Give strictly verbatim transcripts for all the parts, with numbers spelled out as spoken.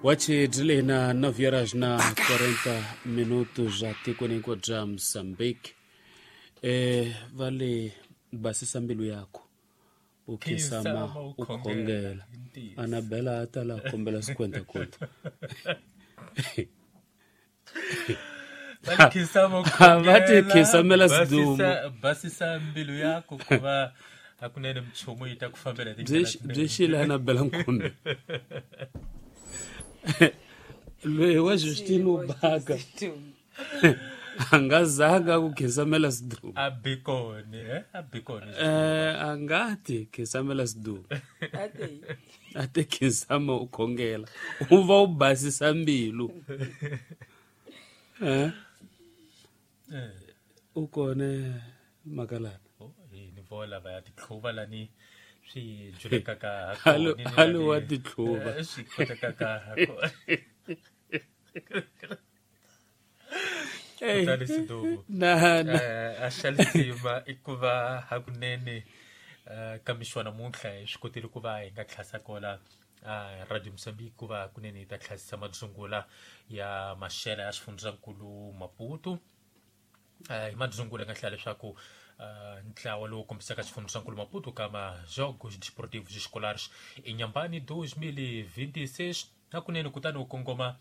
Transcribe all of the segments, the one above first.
Wachi dzilina nove horas na quarenta minutos atikweni hinkwaro bya Mozambique. Eh vale basisa mbilu yakho u khinsama u khongela. Anabela a ta la kombela cinquenta conto. Va ti khisamela sidumo. Basisa mbilu yakho kuva hakunene mchumu yi ta ku fambela tindlela. Byi xile Anabela Nkumbe. Loyi wa Justino Baka a nga zanga ku khisamela sidumo. A bikoni eh a bikoni eh a nga ti khisamela sidumo. A te khinsama u khongela u va u basisa mbilu. Eh u kone makalana. Ni vola va ya titlhuva lani swi julekaka halo halo wa titlhuva swi kotekaka ha kona. Kutani Sidumo na na a xalisima i ku va hakunene ka mixo namuntlha hi swi kotile ku va hi nga tlhasa kola Radio Mozambique ku va hakunene hi ta tlhasisa madzungula ya maxela ya xifundzankulu Maputo. Hi madzungula nga hlaya leswaku ntlawa lowu kombisaka xifundzankulu Maputo ka Jogos Desportivos Escolares Inhambane dois mil e vinte e seis hakunene kutani wu kongoma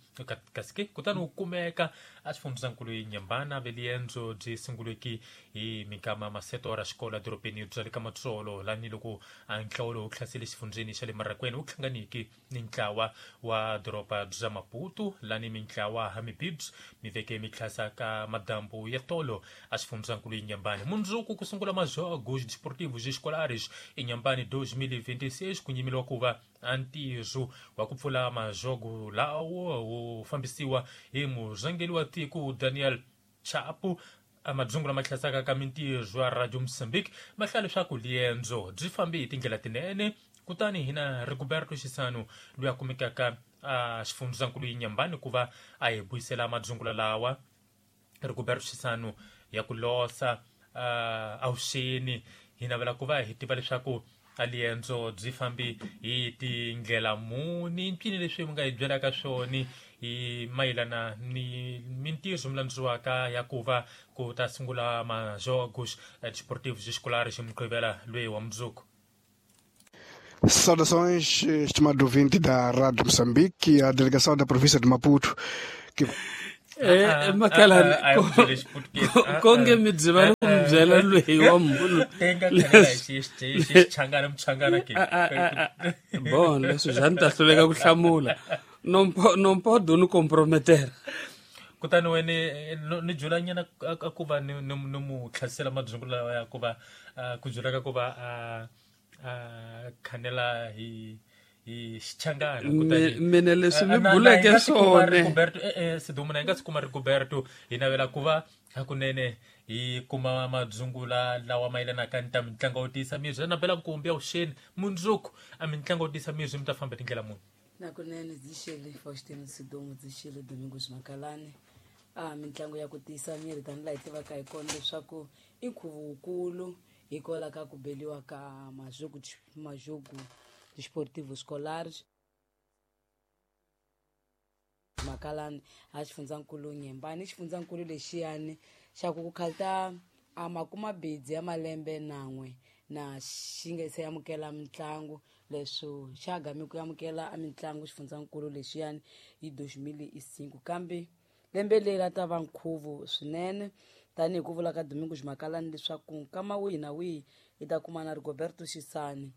kasi ke kutani wu kumeka a xifundzankulu Inhambane veliendzo byi sunguleki hi minkama maseto ra xikolo edorobeni bya le ka Matsolo lani loko a ntlawa lowu hlasele xifundzeni xa le Marakweni wu hlanganiki ni ntlawa wa doroba bya Maputo lani mintlawa ha mibibs mi veke mi tlhasa ka madambu ya tolo a xifundzankulu Inhambane. Mundzuku ku sungula Majogos Desportivos Escolares Inhambane dois mil e vinte e seis ku nyimeliwa ku va a ntirho wa ku pfula majogo lawo wu fambisiwa hi murhangeri wa tiko Daniel Chapo. Madzungula ma hlasaka ka mintirho ya Radio Mozambique ma hlaya leswaku liendzo byi fambe hi tindlela tinene. Kutani hina Rigoberto Xisano loyi a kumekaka a xifundzankulu Inhambane ku va a hi buyisela madzungula lawa. Rigoberto Xisano ya ku losa avuxeni, hi navela ku va hi tiva leswaku a liendzo byi fambi hi tindlela muni, mpfini leswi mi nga hi byelaka swona hi mayelana ni mintirho mi landziwaka ya ku va ku ta sungula Majogos Desportivos Escolares hi Mugqivela loyi wa mundzuku. Saudações, estimado ouvinte da Rádio Moçambique, a delegação da província de Maputo que Eh makalana konge mi byi ku mi byela loyi wa munhu bon leswi bya ni ta hluleka ku hlamula non podo ni comprometera. Kutani wene ni julanyana a ku va ni ni mu tlhasela madzungula lawa ya ku va ku julaka ku va a khanela hi hi xichangana. Kutani mina leswi mi buleke swona Rigoberto eh Sidumo na hi nga si kuma Rigoberto hi navela ku va hakunene hi kuma madzungula lawa mayelanaka ni ta mitlangu yo tiyisa miri. Navela nkumbi ya vuxeni mundzuku a mitlangu yo tiyisa miri mi ta famba tindlela muni. Nakunene byi xile Faustino Sidumo, byi xile Domingos Makalani. A mitlangu ya ku tiyisa miri tanihi laha hi tivaka hi kona leswaku i nkhuvo wukulu hikwalaho ka ku beliwa ka majogo majogo Desportivos Escolares Makalani a xifundzankulu Inhambane. Xifundzankulu lexiyani xa ku ku khalta a makumabidzi ya malembe nan'we na xi nga se amukela mitlangu leswo xa gami ku amukela a mitlangu xifundzankulu lexiyani hi dois mil e cinco, kambe lembe leri a ta va nkhuvo swinene tanihi ku vula ka Domingos Makalani leswaku nkama wihi na wihi hi ta kuma na Rigoberto Xisani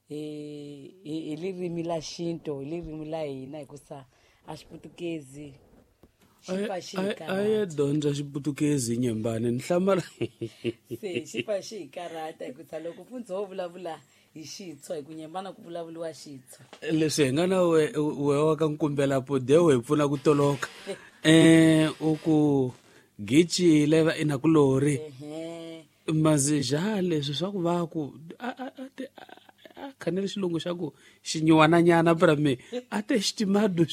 hi hi ririmi la xintu, hi ririmi la hina hikusa a xiputukezi xi pfa xi hi a ye dyondza xiputukezi Inhambane ni hlamala se xi pfa xi hi karhata hikusa loko mfundzi wo vulavula hi xitshwa hi ku Inhambane ku vulavuriwa xitshwa. Leswi hi nga na we we wa ka nkumbela podewo hi pfuna ku toloka eh u ku gichi leva inakulori mazija leswi swa ku va ku a a a khanele xilungu xa ku xinyiwananyana pra me a te xitimado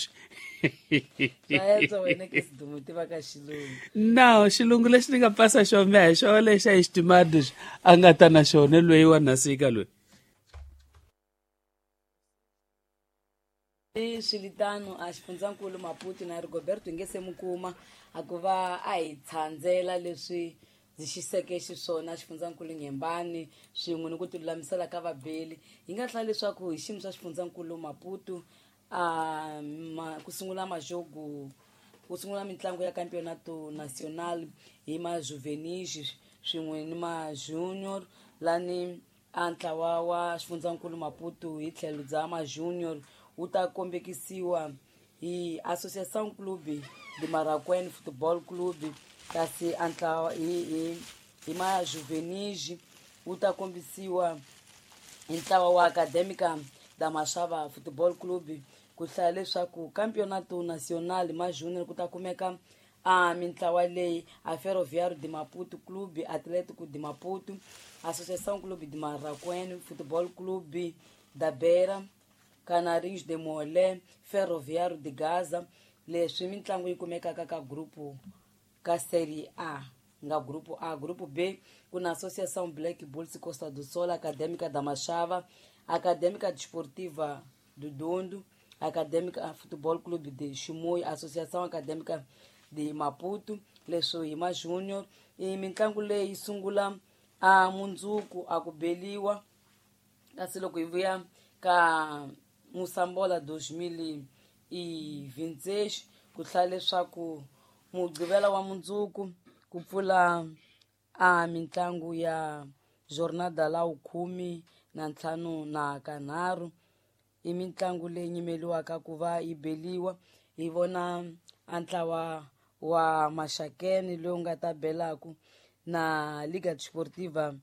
no xilungu lexi ni nga pasa xona me hi xona lexa hi xitimado a nga ta na xona loyi wa nasika loyi. Swilitano a xifundzankulu Maputo na Rigoberto hi nge se mu kuma a ku va a hi tshandzela leswi ndzi xiseke xiswona xifundzankulu Nyembani swin'we ni ku tilulamisela ka vabeli. Hi nga hlaya leswaku hi xiyimo xa xifundzankulu Maputo a ma, ku sungula majogo ku sungula mitlangu ya Campeonato Nacional hi majuvenis swin'we ni ma-junior lani a ntlawa wa xifundzankulu Maputo hi tlhelo bya ma-junior wu ta kombekisiwa hi Associação Clube de Maracuene Futebol Clube, kasi a ntlawa hi hi hi majuvenis wu ta kombisiwa hi ntlawa wa Acadêmica da Machava Futebol Clube. Ku hlaya leswaku Campeonato Nacional ma junior ku ta kumeka a mintlawa leyi a Ferroviário de Maputo Clube Atlético de Maputo, Associação Clube de Maracuene Futebol Clube da Beira, Canarinhos de Molé, Ferroviário de Gaza. Leswi mitlangu yi kumekaka ka grupo ka Série A nga grupo A. Grupo B ku na Associação Black Bulls Costa do Sol, Acadêmica da Machava, Acadêmica Desportiva do Dondo, Acadêmica Futebol Clube de Chimoio, Associação Acadêmica de Maputo. Leswi hi ma junior. I mitlangu leyi sungula a mundzuku a ku beliwa, kasi loko hi vuya ka Moçambola dois mil e vinte e seis ku hlaya leswaku mugqivela wa mundzuku ku pfula a mitlangu ya jornada la khume na ntlhanu na kanharhu. I mitlangu leyi nyimeliwaka ku va yi beliwa. Hi vona a ntlawa wa Maxakeni lowu nga ta belaku na Liga Desportiva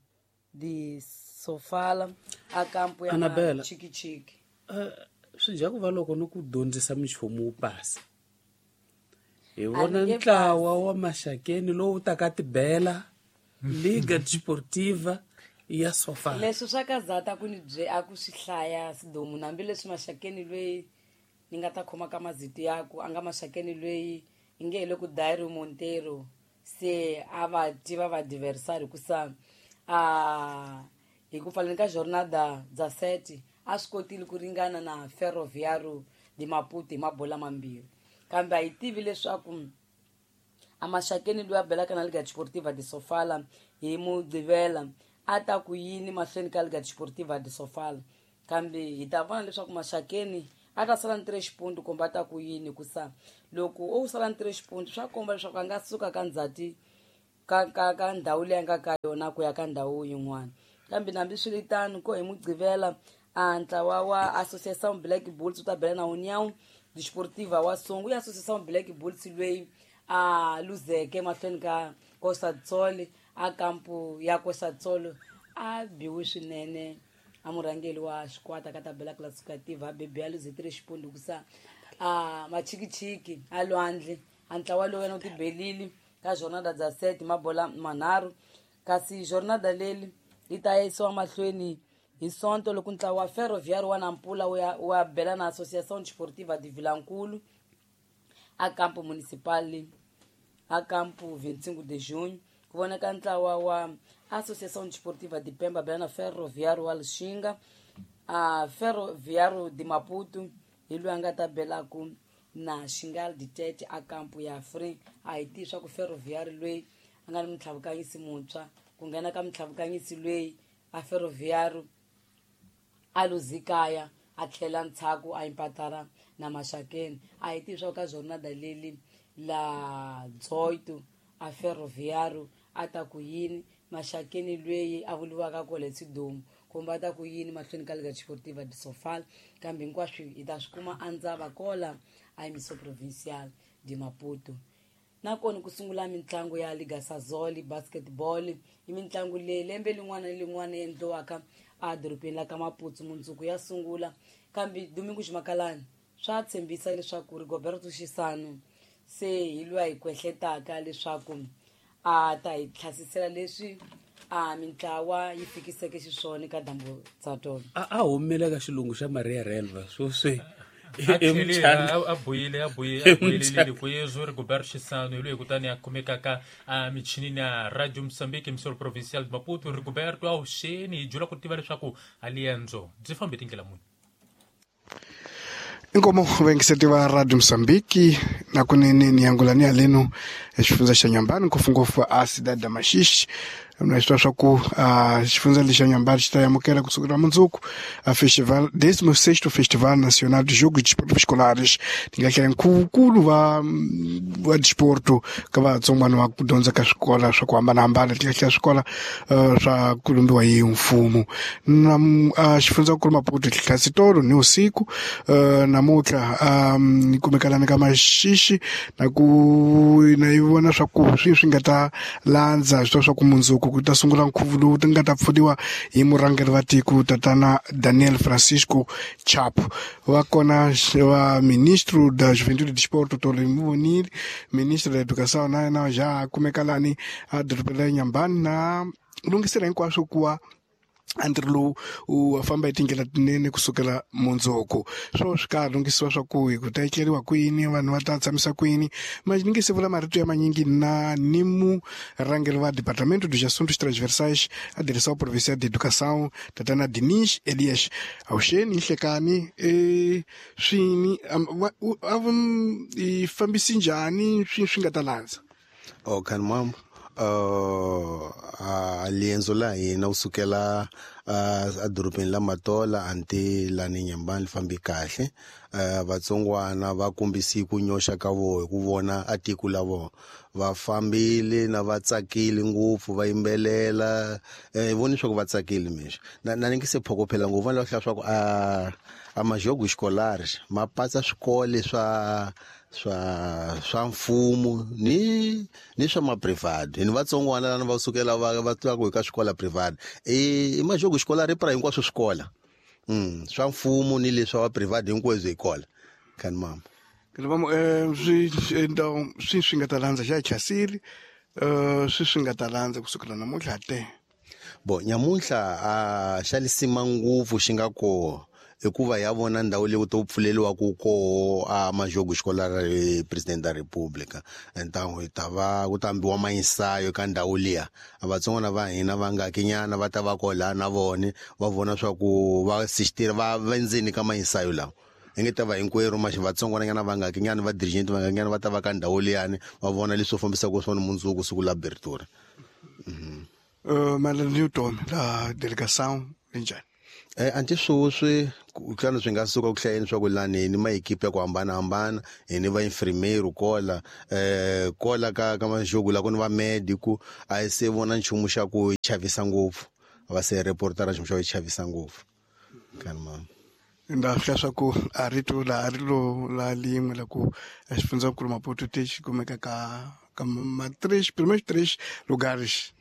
de Sofala a kampo ya Annabella. Chikichiki. Uh, swi dya ku va loko ni ku dyondzisa minchumu wu pasa. Hi vona A ni nge ntlawa wa Maxakeni lowu taka tibela Liga Desportiva ya Sofala. Leswi swa ka zata ku ni bye a ku swi hlaya sidomu, hambileswi Maxakeni loyi ni nga ta khoma ka mazito yaku a nga Maxakeni loyi i nge hi le ku Dairo Monteiro se a va tiva va adversary hikusa a hi ku pfaleni ka jornada dza sete a swi kotile ku ringana na Ferroviário de Maputo hi mabola mambirhi, kambe a hi tivi leswaku a Maxakeni loyi a belaka na Liga Desportiva de Sofala hi Mugqivela a ta ku yini mahlweni ka Liga Desportiva de Sofala, kambe hi ta vona leswaku Maxakeni a ta sala ni three xipundu kumbe a ta ku yini, hikusa loko o sala ni three xipundu swa komba leswaku a nga suka ka ndzhati ka ka ka ndhawu leyi a nga ka yona ku ya ka ndhawu yin'wana. Kambe hambiswiritano ko hi Mugqivela a ntlawa wa Associação Black Bulls wu ta bela na União Desportiva wa Songo. Ya Associação Black Bulls loyi a luzeke mahlweni ka Costa do Sol a kampo ya Costa do Sol a biwe swinene a murhangeri wa xikwata ka tabela classificativa a bebe a luze three xipundu hikusa a machikichiki a lwandle a ntlawa lowu yena u tibelile ka jornada dza sete mabola manharhu, kasi jornada leri yi ta yisiwa mahlweni hi Sonto loko ntlawa wa Ferroviário wa Nampula wu ya wa bela na Associação Desportiva de Vilankulu a campo municipal a campo vinte e cinco de junho. Ku vonaka ntlawa wa Associação Desportiva de Pemba bela na Ferroviário wa Lixinga, a Ferroviário de Maputo hi loyi a nga ta belaku na Xingal de Tete a campo ya Free. A hi tivi swa ku Ferroviário loyi a nga ni mutlhavukanyisi muntshwa ku nghena ka mutlhavukanyisi loyi a Ferroviário a luzikaya a tlhela ntshaku a impatara na Maxakeni. A hi tivi swa ku ka jornada leli la dezoito a Ferroviário a ta ku yini Maxakeni loyi a vuriwaka kwale Sidomu kumbe a ta ku yini mahlweni ka Liga Desportiva de Sofala, kambe hinkwaswo hi ta swi kuma a ndzava kola a Emissão Provincial de Maputo. Nakona ku sungula mitlangu ya Liga Sazoli basketball i mitlangu leyi lembe lin'wana ni lin'wana yi endliwaka a dorobeni la ka Maputo mundzuku ya sungula. Kambe Domingo Ximakalani swa tshembisa leswaku Rigoberto Xisano se hi loyi a hi kwehletaka leswaku a ta hi tlhasisela leswi a mintlawa yi fikiseke xiswona ka dyambu dza tona. A a humile ka xilungu xa Maria Relva sweswi a tlhele a buyile a buye a buyelelile ku yezwo Rigoberto Xisano hi loyi kutani a kumekaka a michinini ya Radio Mozambique Emissora Provincial de Maputo. Rigoberto a wuxeni hi dyula ku tiva leswaku a liendzo byi fambe tindlela muni. Inkomo vaingiseti va Radio Mozambique na kunene ni yangulani ya leno xifundza xa Nyambani ngopfungopfu a cidade da Maxixe na swi swa ku xifundza lexa Nyambani xi ta amukela kusukela mundzuku a festival décimo sexto Festival Nacional de Jogos de Desportos Escolares ti nga hlaya nkulu va va desporto ka vatsongwana va ku dyondza ka swikola swa ku hambanahambana ti nga hlaya swikola swa ku lumbiwa hi mfumo na xifundzankulu Maputo tlhasitolo ni usiku namuntlha ni kumekalana ka Maxixe na ku na yi vona swa ku swi swi nga ta landza swi swa ku mundzuku ku ta sungula nkhuvo lowu ti nga ta pfuniwa hi murhangeri wa tiko tatana Daniel Francisco Chapo va kona va ministro da Juventude e Desporto Tolo Muvonile ministro da Educação na na já kumekalani a dorobeni ra Nyambani na lunghisela hinkwaswo ku wa antirho lowu u famba hi tindlela tinene kusukela mundzuku swo swi ka lunghisiwa swa ku hi ku ta etleriwa kwini vanhu va ta tshamisa kwini ma ni nge se vula marito ya manyingi na ni murhangeri wa Departamento dos Assuntos Transversais a Direção Provincial de Educação tatana Dinis Elias Awuxeni Nhlekani e swini a i fambisi njhani swi swi nga ta landza oh kan mam Uh, a lienzo la hina wu sukela uh, edorobeni la Matola anti lani Nyambani li fambi kahle uh, vatsongwana va kombisi ku nyoxa ka voho hi ku vona a tiko la vona va fambile na va tsakile ngopfu va yimbelela eh voni swa ku va tsakile mixo na na ni nge se phokophela ngopfu va lava hlaya swa ku a a majogo scolares ma patsa swikole swa swa swa mfumo ni ni swa ma private ni vatsongwana lana va sukela va va twa ku ka swikola private e i majogo xikolari pra hinkwaswo swikola mm swa mfumo ni leswa wa private hinkwaswo hi kola kan mama ke va eh swi então swi swi nga ta landza xa chasili eh swi swi nga ta landza kusukela namuntlha te bo nyamuntlha a xa lisima ngopfu xi nga ko hikuva ya vona ndhawu leyi to pfuleliwa ku koho a majogo xikolari president da República então hi ta va ku tambiwa mainsayo ka ndhawu liya vatsongwana va hina va nga kinyana va ta va kola na vone va vona swa ku va assistir va vendzeni ka mainsayo lawa hi nge ta va hinkwerhu maxi vatsongwana nyana va nga kinyana va dirigent va nga kinyana va ta va ka ndhawu liyani va vona leswi fambisaka swona mundzuku siku la abertura mhm uh Malan Newton la delegação linjani eh anti swoswi ku tlana swi nga suka ku hlayeni swa ku lani ni maekipe ya ku hambanahambana hi ni va infirmeiro kola eh kola ka ka majogo la ku ni va medico a se vona nchumu xa ku chavisa ngopfu va se reportera nchumu xa ku chavisa ngopfu kan ma nda hlaya swa ku a rito la ri lo la lin'we la ku xifundzankulu Maputo te xi kumeka ka ka ma três primeiros três lugares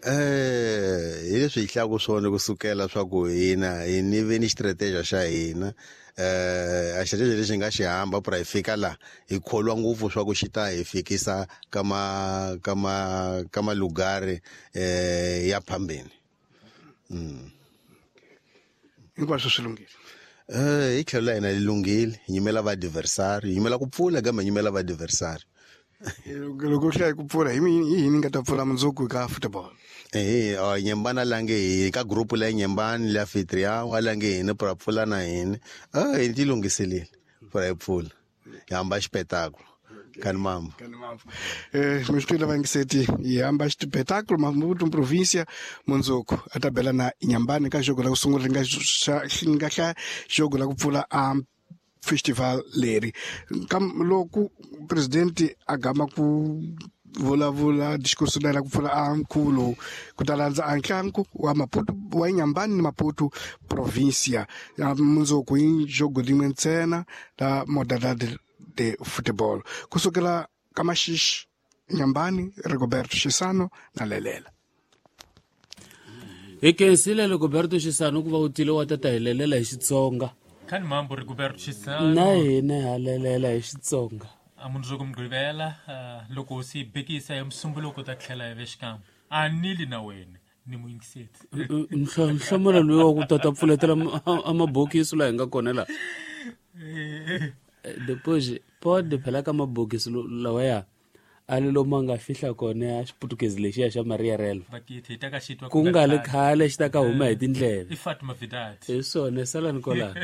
eh hi leswi hi hlaya swona kusukela swa ku hina hi ni ve ni strategy xa hina eh a strategy lexi nga xi hamba pra hi fika la hi kholwa ngopfu swa ku xi ta hi fikisa ka ma ka ma ka malugari eh ya phambeni mm hinkwaswo swi lunghile eh hi tlhelo la hina li lunghile hi nyimela va adversary hi nyimela ku pfula kambe hi nyimela va adversary loko u hlaya ku pfula hi yini nga ta pfula mundzuku ka football eh Nyembana lange hi ka group la Nyembani la anfitrião a lange hina pra pfula na hina ah hi ti lunghiselile pra hi pfula hi hamba xipetáculo kan mama kan mama eh mi swi tiva ngiseti hi hamba xipetáculo Maputo província mundzuku a ta bela na Nyambani ka jogo la ku sungula ri nga nga hlaya jogo la ku pfula a festival leri kam loko presidente a gama ku vulavula discurso la ku pfula a nkhuvo lowu ku ta landza a ntlangu wa Maputo wa Nyambani ni Maputo província mundzuku hi jogo rin'we ntsena la modalidade de futebol kusukela ka Maxixe Nyambani Rigoberto Xisano na Lelela hi khensile Rigoberto Xisano ku va u tile wa tata hi lelela hi Xitsonga kan mambo Rigoberto Xisano na hina ha lelela hi Xitsonga a mundzuku Mugqivela loko si bekisa hi Musumbuluko ta tlhela hi vexikan'we a nili na wena ni muyingiseti nhlamulo loyi wa ku tata pfuletela a mabokisi laha hi nga kona laha depois pode phela ka mabokisi lawaya a le lomu a nga fihla kona ya xiputukezi lexiya xa Maria Relva ku nga le khale xi ta ka huma hi tindleve i Fatima Vidati hi swona salani kwalano.